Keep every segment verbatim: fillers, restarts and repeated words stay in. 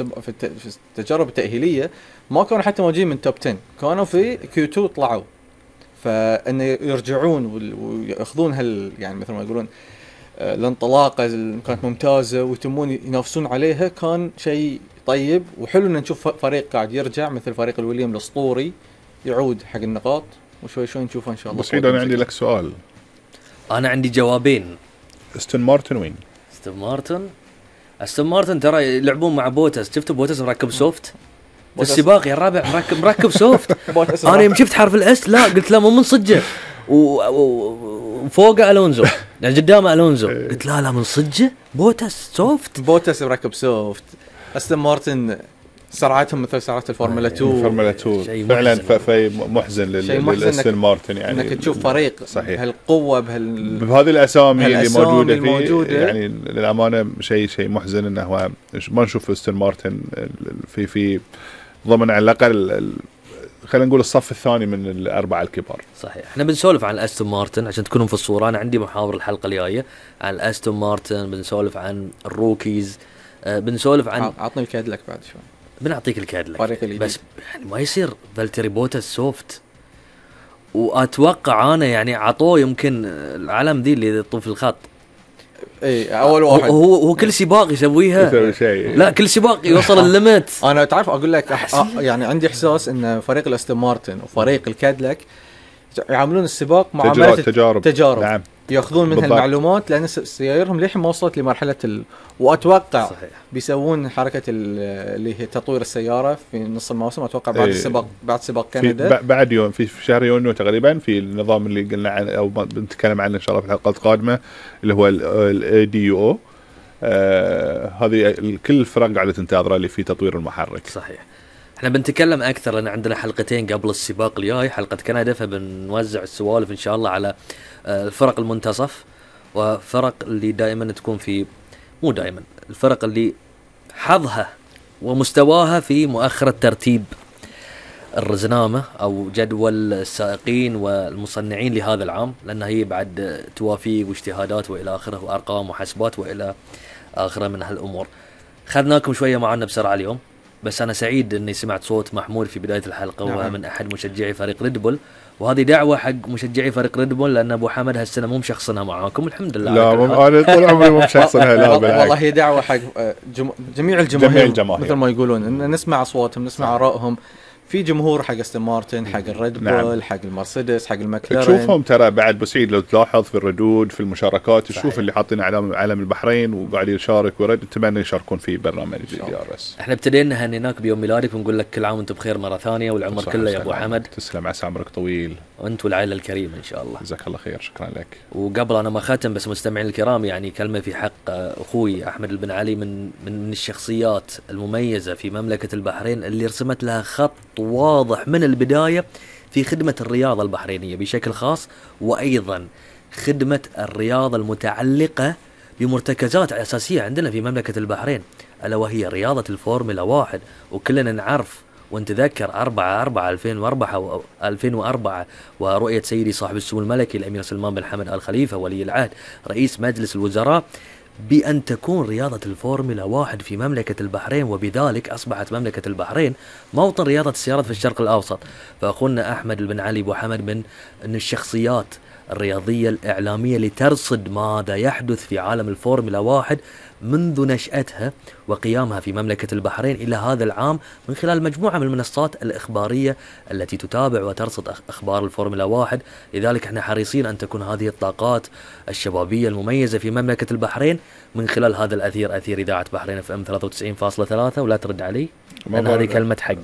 في التجارب التأهيلية ما كانوا حتى موجودين من توب عشرة، كانوا في كيو تو طلعوا، فإن يرجعون ويأخذون هال يعني مثل ما يقولون الانطلاقة اللي كانت ممتازة ويتمون ينافسون عليها، كان شيء طيب وحلو إن نشوف فريق قاعد يرجع مثل فريق الويليام الأسطوري يعود حق النقاط، وشوي شوي نشوفه إن شاء الله. بس أنا عندي لك سؤال. أنا عندي جوابين. أستون مارتن وين؟ أستون مارتن أستون مارتن ترى يلعبون مع بوتس، شفتوا بوتس مركب سوفت في السباق يا الرابع، مركب مركب سوفت. أنا يوم شفت حرف الأس لا قلت لا مو من صجة، وفوقه ألونزو يعني قدامه ألونزو، قلت لا لا من صجة بوتس سوفت. بوتس مركب سوفت. أستون مارتن سرعتهم مثل سرعات الفورمولا تو. الفورمولا تو فعلا في محزن للأستون مارتن، يعني انك تشوف فريق صحيح. بهالقوة بهال بهذه الأسامي اللي موجودة الموجودة فيه، يعني للأمانة شيء شيء محزن إنه ما نشوف أستون مارتن في في ضمن على الأقل خلينا نقول الصف الثاني من الأربعة الكبار. صحيح. احنا بنسولف عن أستون مارتن عشان تكونوا في الصورة. أنا عندي محاور الحلقة الجاية عن أستون مارتن، بنسولف عن الروكيز، أه بنسولف عن عطني الكادلك بعد شوي. بنعطيك الكادلك بس يعني ما يصير فالتيري بوتاس سوفت، وأتوقع أنا يعني عطوه يمكن العلم ذي اللي يطوف الخط. اي اول واحد هو هو كل سباق يسويها، لا كل سباق يوصل الليمت. انا تعرف اقول لك أح... يعني عندي احساس ان فريق الاستون مارتن وفريق الكادلك يعاملون السباق معامله تجارب, تجارب. نعم. ياخذون منها المعلومات لان سيارهم للحين ما وصلت لمرحله ال... واتوقع صحيح. بيسوون حركه اللي هي تطوير السياره في نص الموسم، اتوقع بعد السباق بعد سباق كندا بعد يوم في شهر يونيو تقريبا، في النظام اللي قلنا عنه او بنتكلم عنه ان شاء الله في الحلقات القادمه اللي هو الاي دي او. آه هذه كل الفرق قاعده تنتظره اللي في تطوير المحرك. صحيح. احنا بنتكلم اكثر لان عندنا حلقتين قبل السباق الجاي، حلقه كندا، فبنوزع السوالف ان شاء الله على الفرق المنتصف وفرق اللي دائما تكون في مو دائما الفرق اللي حظها ومستواها في مؤخرة ترتيب الرزنامة أو جدول السائقين والمصنعين لهذا العام، لأن هي بعد توافيق واجتهادات وإلى آخره وأرقام وحسبات وإلى آخره من هالأمور. خذناكم شوية معنا بسرعة اليوم، بس أنا سعيد أني سمعت صوت محمود في بداية الحلقة وهو نعم. من أحد مشجعي فريق ريد بول، وهذه دعوة حق مشجعي فريق ريد بول لأن أبو حمد هالسنة مو مشخصنها معاكم الحمد لله. لا أنا طول عمري مو مشخصنها. لا والله هي دعوة حق جم... جميع الجماهير مثل ما يقولون إن نسمع أصواتهم نسمع آرائهم. في جمهور حق استون مارتن، حق الريد بول، نعم. حق المرسيدس، حق المكلارين. تشوفهم ترى بعد بسعيد لو تلاحظ في الردود في المشاركات تشوف اللي حاطين علم علم البحرين وقاعد يشارك ورد اتمنى يشاركون في برنامج دي ار اس. احنا ابتدينا هنيناك بيوم ميلادك ونقول لك كل عام وانت بخير مرة ثانية والعمر كله يا ابو حمد. تسلم، عسى عمرك طويل وانت والعائلة الكريمة ان شاء الله. جزاك الله خير، شكرا لك. وقبل انا ما ختم بس مستمعين الكرام، يعني كلمة في حق اخوي احمد البن علي من من الشخصيات المميزة في مملكة البحرين اللي رسمت لها خط واضح من البداية في خدمة الرياضة البحرينية بشكل خاص، وأيضا خدمة الرياضة المتعلقة بمرتكزات أساسية عندنا في مملكة البحرين، ألا وهي رياضة الفورمولا واحد. وكلنا نعرف ونتذكر أربعة أربعة ألفين وأربعة ألفين وأربعة ورؤية سيدي صاحب السمو الملكي الأمير سلمان بن حمد آل خليفة ولي العهد رئيس مجلس الوزراء بأن تكون رياضة الفورمولا واحد في مملكة البحرين، وبذلك أصبحت مملكة البحرين موطن رياضة السيارات في الشرق الأوسط. فأخونا أحمد البن علي أبو حمد من من الشخصيات الرياضية الإعلامية لترصد ماذا يحدث في عالم الفورمولا واحد منذ نشأتها وقيامها في مملكة البحرين إلى هذا العام من خلال مجموعة من المنصات الإخبارية التي تتابع وترصد أخبار الفورمولا واحد. لذلك احنا حريصين أن تكون هذه الطاقات الشبابية المميزة في مملكة البحرين من خلال هذا الأثير، أثير إذاعة بحرين اف ام ثلاثة وتسعين فاصلة ثلاثة. ولا ترد علي لأن هذه كلمة حق.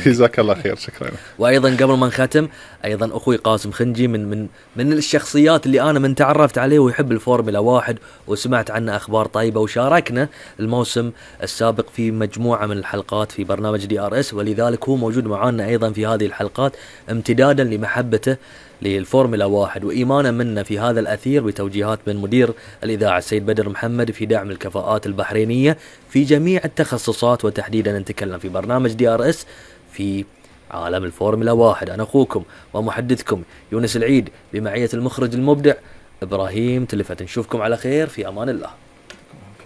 جزاك الله خير، شكرا. وأيضا قبل ما نختم، أيضا أخوي قاسم خنجي من من من الشخصيات اللي أنا من تعرفت عليه ويحب الفورمولا واحد وسمعت عنه أخبار طيبة، وشاركنا الموسم السابق في مجموعة من الحلقات في برنامج دي ار اس، ولذلك هو موجود معنا أيضا في هذه الحلقات امتدادا لمحبته للفورمولا واحد وإيمانا منا في هذا الأثير بتوجيهات من مدير الإذاعة السيد بدر محمد في دعم الكفاءات البحرينية في جميع التخصصات، وتحديدا نتكلم في برنامج دي ار اس في عالم الفورمولا واحد. أنا أخوكم ومحدثكم يونس العيد بمعية المخرج المبدع إبراهيم تلفت. نشوفكم على خير، في أمان الله.